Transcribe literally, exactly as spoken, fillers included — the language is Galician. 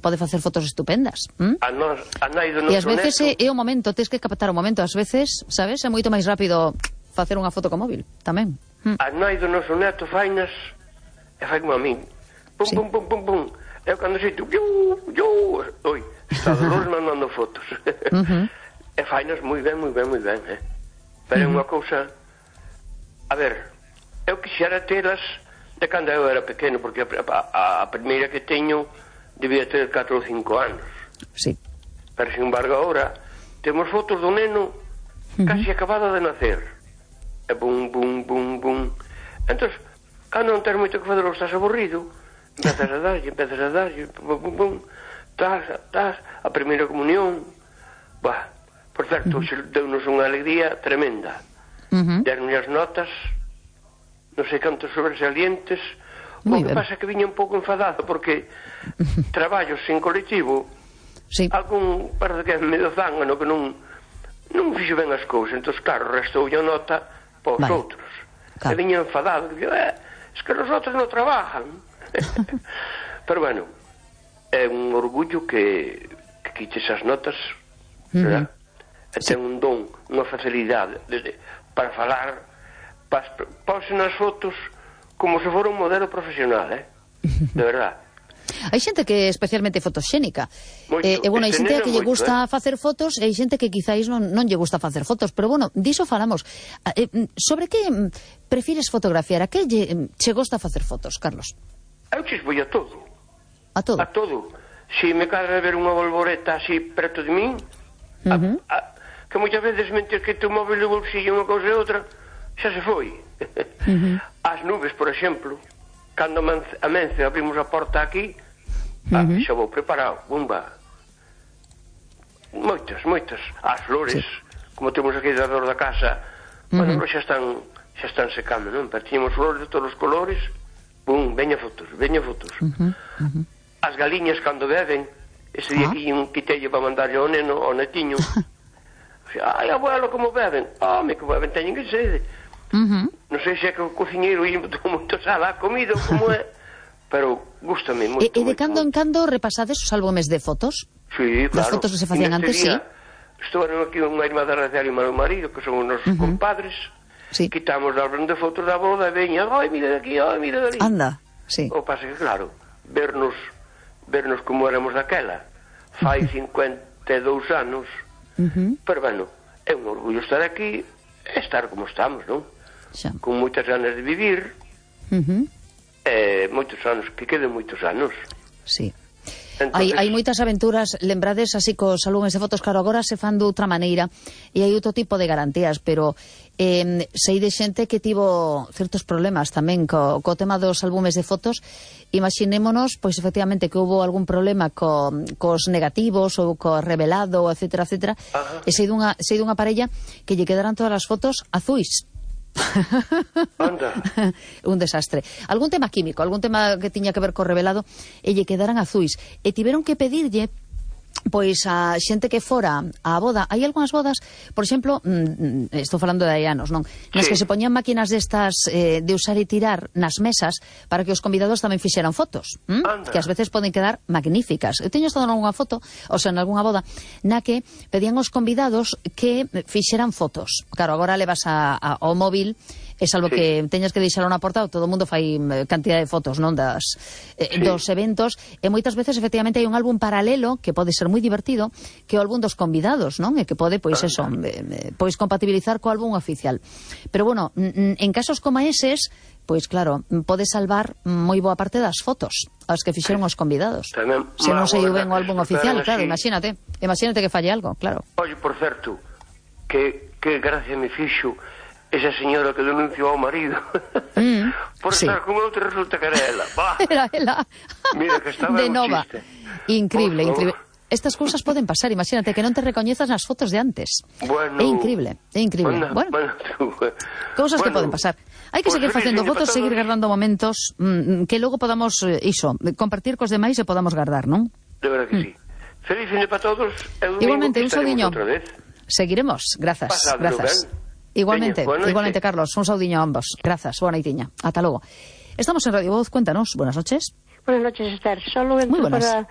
pode facer fotos estupendas. ¿Mm? A nos, a nai do E ás noso veces neto, é o momento, tens que captar o momento, ás veces, sabes, é moito máis rápido facer unha foto co móvil, tamén. ¿Mm? a nai do noso neto fainas e fai como a min. Pum, Sí. pum, pum, pum, pum. Eu cando sei tú, yo, yo, oi, está Dolores mandando fotos. Uh-huh. E fainas moi ben, moi ben, moi ben, eh. Pero é Uh-huh. unha cousa... A ver, eu quixera telas de cando eu era pequeno, porque a, a, a primeira que teño debía ter catro ou cinco anos. Sí. Pero, sin embargo, agora temos fotos do neno casi acabado de nacer. E bum, bum, bum, bum. Entón, cando non tens moito que fazer ou estás aburrido, empezas a darlle, empezas a darlle, bum, bum, bum, tas, tas, a primeira comunión. Bah, por certo, uh-huh. deu-nos unha alegría tremenda. Uh-huh. Deron-lhe as notas, non sei cantos sobresalientes. Muy O que ben. pasa é que viña un pouco enfadado, porque traballos sin colectivo, Sí. algún parece que é medio zángano que non non fixo ben as cousas, entón claro, restou a nota para os Vale. outros. Claro. E viña enfadado, que eh, es que os outros non trabajan. Pero bueno, é un orgullo que, que quites as notas, verdad? E ten un don, unha facilidade de, para falar, para, pause nas fotos como se fora un modelo profesional, eh? De verdad. Hai xente que é especialmente fotoxénica. Moito. Eh, e, bueno, hai Este xente neno que lle moito, gusta facer fotos e hai xente que quizáis non, non lle gusta facer fotos. Pero, bueno, diso falamos. Eh, sobre que mm, prefires fotografiar? A que lle, mm, che gusta facer fotos, Carlos? Eu chispo a todo. A todo? A todo. Se me cadra ver unha bolboreta así preto de min, Uh-huh. a, a, que moitas veces mentres que tu móvil no bolsillo unha cousa e outra, xa se foi. Uh-huh. As nubes, por exemplo, cando amence abrimos a porta aquí, uh-huh. ah, xa vou preparado, bomba. Moitas, moitas. As flores, sí. Como temos aquí alrededor da casa, uh-huh. bueno, xa están, xa están secando, non? Pero tiñamos flores de todos os colores, bum, veña fotos, veña fotos. Uh-huh. Uh-huh. As galiñas cando beben, ese día Ah. que un quitello para mandarlle ao neno, ao netiño. Ai, abuelo, como beben? Home, como beben, teñen que sede. Uh-huh. Non sei se é que o cociñeiro ia moito sal a comida, como é, pero gústame moito. E, e de moito, cando en moito. cando repasades os álbumes de fotos? Sí, claro. Das fotos que se facían Neste antes, día, sí. Estuvaron aquí unha irmá da Racial e o meu marido, que son os nosos Uh-huh. compadres. Sí. Quitamos o álbum de fotos da boda e veña, ai, mira de aquí, ai, mira de ali. Anda, sí. O pasa que, claro, vernos vernos como éramos daquela, fai cincuenta e dous anos, Uh-huh. pero, bueno, é un orgullo estar aquí e estar como estamos, non? Xa. Con moitas ganas de vivir, Uh-huh. e moitos anos, que queden moitos anos. Sí. Entonces, Hai, hai moitas aventuras, lembrades así cos álbumes de fotos, claro, agora se fan de outra maneira e hai outro tipo de garantías, pero eh, sei de xente que tivo certos problemas tamén co, co tema dos álbumes de fotos. Imaxinémonos, pois efectivamente que houve algún problema co, cos negativos ou co revelado, etcétera, etcétera, Ajá. e sei dunha, sei dunha parella que lle quedaran todas as fotos azuis. Anda. Un desastre. Algún tema químico, algún tema que tiña que ver co revelado e lle quedaran azuis. E tiveron que pedirlle pois a xente que fora á boda. Hai algunhas bodas, por exemplo, mm, estou falando de hai anos, non? Nas Sí. que se poñían máquinas destas eh, de usar e tirar nas mesas para que os convidados tamén fixeran fotos, ¿m? Que ás veces poden quedar magníficas. Eu teño estado nalgúna foto, ou sea, nalgúna boda, na que pedían os convidados que fixeran fotos. Claro, agora levas a, a, ao móvil, e salvo Sí. que teñas que deixar unha porta, todo o mundo fai eh, cantidad de fotos, non, das eh, Sí. dos eventos, e moitas veces efectivamente hai un álbum paralelo que pode ser moi divertido, que é o álbum dos convidados, non? E que pode, pois eso, eh, pois compatibilizar co álbum oficial. Pero bueno, n- n- en casos como eses, pois claro, pode salvar moi boa parte das fotos as que fixeron os convidados. Tamén Se non má sei guarda ben o álbum que se oficial, preparan claro, así. imagínate, imagínate que falle algo, claro. Oye, por certo, que, que gracia me fixo esa señora que denunciou ao marido Mm, por sí. estar con outro, resulta que era ela. Bah, Era ela. mira que estaba De un nova. chiste. Increíble, Por favor. increíble. Estas cousas poden pasar, imagínate que non te recoñezas nas fotos de antes. Bueno, É increíble, é increíble. Bueno, Bueno, bueno, tú, eh, cousas que bueno, poden pasar. Hai que pues seguir feliz facendo fin de fotos, para seguir todos. guardando momentos mm, que logo podamos, eh, iso, compartir cos demais e podamos guardar, non? De verdad que sí. Feliz fin de para todos. E o domingo Igualmente, que un estaremos saudiño. outra vez. Seguiremos, grazas, Pasadlo grazas. ben. Igualmente, Veña, boa noite. igualmente, Carlos, un saudiño a ambos. Grazas, boa noitiña. Ata logo. Estamos en Radio Voz, cuéntanos, buenas noches. Buenas noches, Esther. Solo entro Muy buenas. para